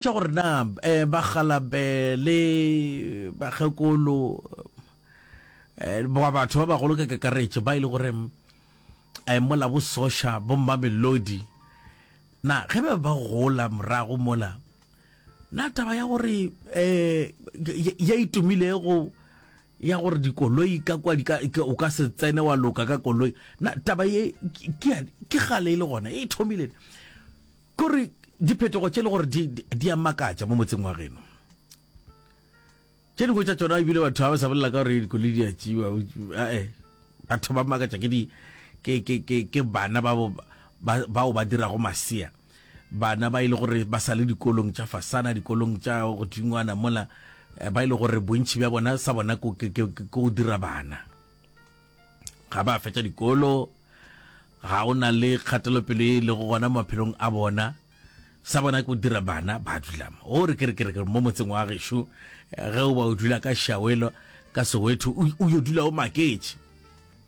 Tša gore na eh, bakgalabe le bakgekolo eh, ba batho ba bagolo ka kakaretšo ba e le gore eh, mola bo soša bo mmamelodi na ge ba ba gola morago mola na taba ya gore eh, ya itumilego ya gore dikoloi ka kwa di ka o ka se tsene wa loka ka koloi na taba ye ke ke gale e le gona e thomile Kore diphetogo tše le gore di, di a makatša mo motseng wa geno. Tše dingwe tša tšona ebile batho ga ba sa bolela ka gore dikoloi di a tšiwa. Ae, batho ba makatša ke di, ke, ke, ke, ke bana ba, ba, bao ba dirago masea. Bana ba e le gore ba sa le dikolong tša fasana, dikolong tša godingwana mola, eh, ba e le gore bontši bja bona sa bona ke, ke, ke, ke go dira bana. Ga ba fetša dikolo, Ga o na le kgatelopele ye e lego gona mo maphelong a bona. Sa bona ke go dira bana ba dula mo. O re ke re ke re mo motseng wa gešo ge o ba o dula ka Shawelo ka Soweto o, o yo dula o maketše.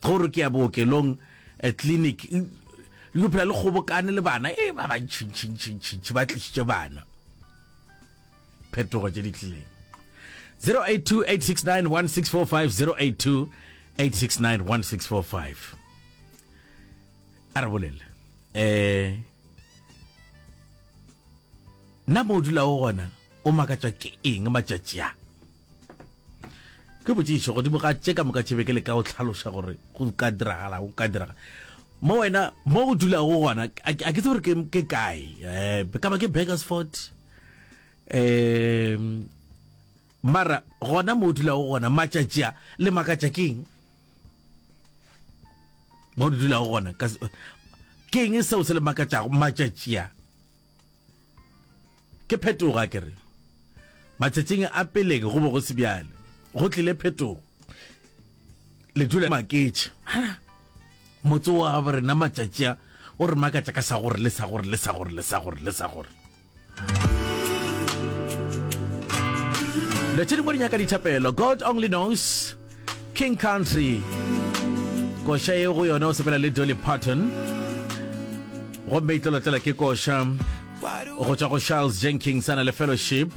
Ge o re ke ya bookelong eh, clinic le phela le kgobokane le bana e ba bantšhintšhintšhintšhi ba tlišitše bana. Phetogo tše di tlileng. 0828691645 0828691645 a re bolele eh nna mo o dulago gona o makatšwa ke eng matšatši a ke botšišo godimo ga tše ka moka tše be ke le ka o tlhaloša gore go ka diragala go ka diragala mo wena mo o dulago gona a ke tsebe gore ke kae um ka ba ke Burgersfort um mara gona mo o dulago gona matšatši a le makatša ke eng mo o dulago gona ke eng seo se le makatšago matšatši a ke phetogo a kere matšatšing a peleng go bo go se bjale go tlile phetogo le dula maketše motse wa rena matšatši a o re makatša ka sa gore le sa gore le sa gore le sa gore le sa gore Dilo tše dingwe di nyaka dithapelo. God only knows. King Country. Koša ye go yona o sepela le Dolly Parton. Gomme e tlolotlela ke koša go tšwa go Charles Jenkins a na le Fellowship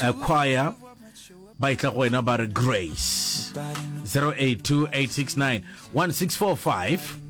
uh, Choir. Ba etla go wena ba re Grace. 082 869 1645.